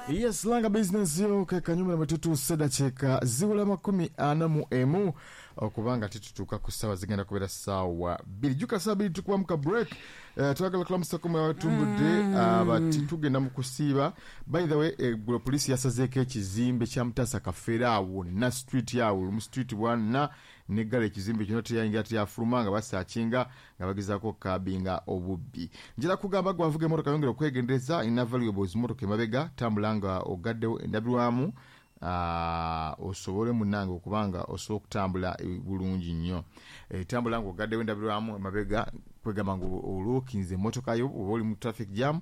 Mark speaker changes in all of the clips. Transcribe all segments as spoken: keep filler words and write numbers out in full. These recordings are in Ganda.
Speaker 1: Yes, langa business yo kekanyuma na matutu dakiika ziwula makumi ana mu emu okubanga titutuuka ku ssaawa zigenda kubeera ssaawa bbiri. Jjuka ssaawa bbiri tukuba mu ka break. Uh, twagala kulamusa ku mwatumbudde mm. uh, tugenda mu kusiiba. By the way, eggulo poliisi yasazeeko ekizimbe kya Mutaasa Kafeero awo na street awo mu street bwana neggala ekizimbe kino teyayingira teyafuluma nga basaakinga nga bagezaako okukabinga obubbi. Njala kugamba gwe avuga emmotoka yongera okwegendereza, ina valuables mmotoka emabega, tambula nga ogaddewo endabirwamu uh, osobole munnange okubanga osobola okutambula bulungi nnyo. E, tambula nga ogaddewo endabirwamu emabega, kwegamba nga olookinze emmotoka yo oba oli mu traffic jam,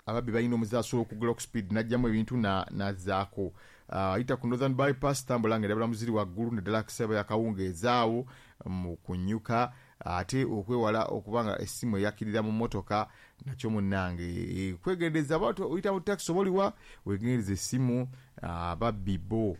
Speaker 1: ababbi balina omuze asobola okugula ku speed n'aggyamu ebintu n'azzaako. Uh, yita ku Northern Bypass, tambula nga endabirwamu ziri waggulu naddala akisaba yakawungeezi awo mu kunyuka, ate okwewala okubanga essimu eyakirira mu mmotoka nakyo munnange e, kwegendereza. Aba oyita mu taxi oba oliwa wegendereza essimu, ababbi bo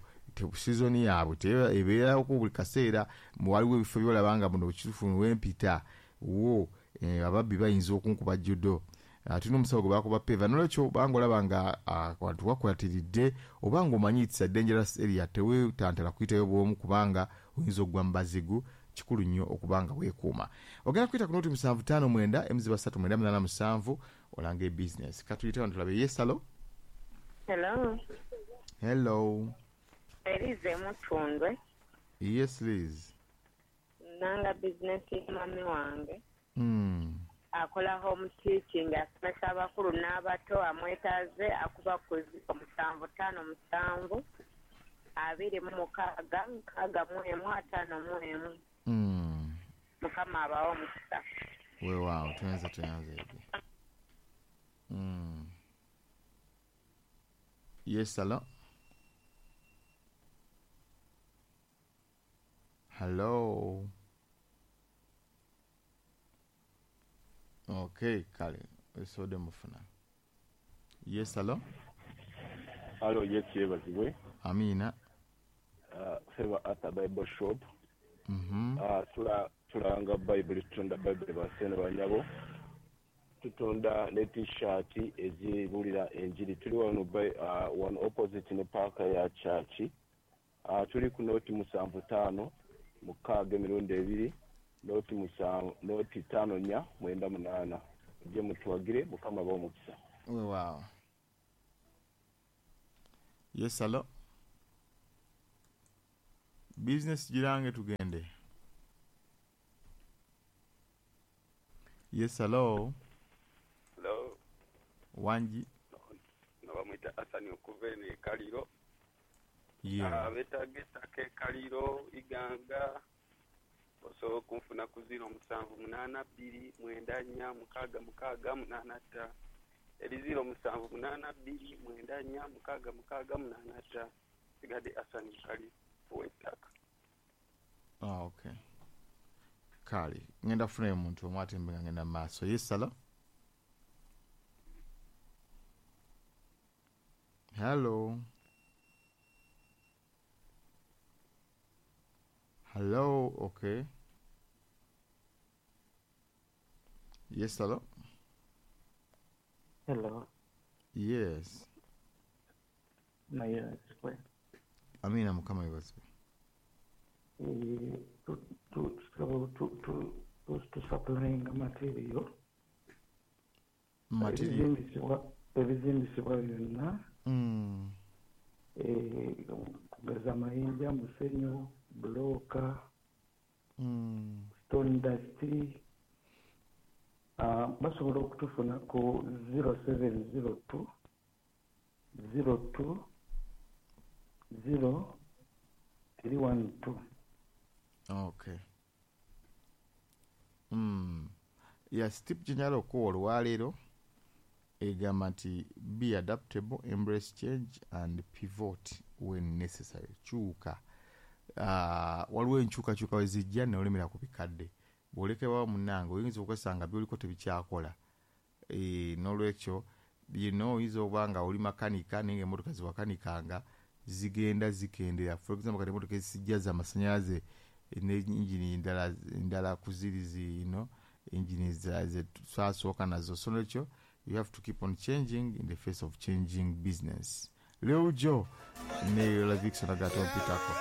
Speaker 1: sizoni yaabwe ebeerako buli kaseera. Waliwo ebifo byolaba nga muno kituufu wempita wo e, ababbi bayinza okunkuba judo. Tulina omusawo gwe bakuba peva, nolwekyo banga olaba nga abantu wakwatiridde oba nga omanyi it's a dangerous area, teweetantala kuyitayo bw'omu kubanga oyinza okugwa mu bazigu. Kikulu nnyo okubanga weekuuma. Ogenda kuyita ku noti musanvu ttaano mwenda emiziba ssatu mwenda munaana musanvu olanga ebizinesi. Katuyite wano tulabe. Yes, hello.
Speaker 2: Hello.
Speaker 1: Hello.
Speaker 2: Elize Mutundwe.
Speaker 1: Yes, Liz.
Speaker 2: Nanga bizinesi ya mami wange.
Speaker 1: Mm.
Speaker 2: Akola home teaching, asomesa abakulu n'abato, amwetaaze akuba ku musanvu ttaano musanvu abiri mu mukaaga nkaaga mu emu ataano mu emu.
Speaker 1: Mm.
Speaker 2: Mukama abawe omukisa.
Speaker 1: Weewaawo, tuyanze tuyanze ebyo. Mm. Yes, hello. Hello. Okay, kale osobodde mufuna. Yes, hello.
Speaker 3: Hello, yes, yeebazibwe.
Speaker 1: Amina.
Speaker 3: Uh, Favor Arthur Bible Shop.
Speaker 1: Mm-hmm.
Speaker 3: Uh, tula tulanga Bible, tutunda Bible basene banyabo. Tutunda ne t-shirt ezibulira enjiri. Tuli wano by uh, one opposite ne park ya church. Uh, tuli ku noti musanvu ttaano mukaaga emirundi ebiri, noti musanvu noti ttaano nnya mwenda munaana. Mujje mutuwagire, Mukama abawe omukisa.
Speaker 1: Weewaawo. Yes, hello. Business girange tugende. Yes, hello.
Speaker 4: Hello.
Speaker 1: Wangi.
Speaker 4: No, bamwita Asani okuva eno e Kaliro.
Speaker 1: Yeah.
Speaker 4: Abeetaaga ettaka e Kaliro, Iganga, osobola okunfuna ku ziro musanvu munaana bbiri mwenda nnya mukaaga mukaaga munaana ttaano. Eri ziro musanvu munaana bbiri mwenda nnya mukaaga mukaaga munaana ttaano. Sigadde Asani Kaliro ow'ettaka.
Speaker 1: Ah, okay. Kale, ngenda kufunayo omuntu omu ate mbe nga ngenda mu maaso. Yes, hello. Hello. Hello, okay. Yes, hello.
Speaker 5: Hello.
Speaker 1: Yes.
Speaker 5: Naye
Speaker 1: Amina, Mukama yeebazibwe.
Speaker 5: Eh, tu tu tu tu tu tu supplying material.
Speaker 1: Material.
Speaker 5: Ebizimbisibwa ebizimbisibwa byonna.
Speaker 1: Mm.
Speaker 5: Eh, kugeza amayinja, musenyu, bulooka,
Speaker 1: Mm.
Speaker 5: stone dust. Uh, basobola okutufuna ku zero seven zero two zero two zero three one two.
Speaker 1: Okay. Mm. Yes, tip gye okuwa olwaleero egamba nti be adaptable, embrace change and pivot when necessary. Kyuka. Uh, waliwo enkyukakyuka we zijja n'olemera ku bikadde. Bw'olekebwawo munnange oyinza okwesanga by'oliko tebikyakola. E, n'olwekyo bino oyinza okuba nga oli makanika naye ng'emmotoka ziwakanikanga zigenda zikendera. For example, kati emmotoka ezisijja z'amasannyalaze ne engine endala endala ku ziri zino engine ze twasooka nazo. So n'olwekyo You have to keep on changing in the face of changing business. Leo Jo ne Lavixon agatompitako.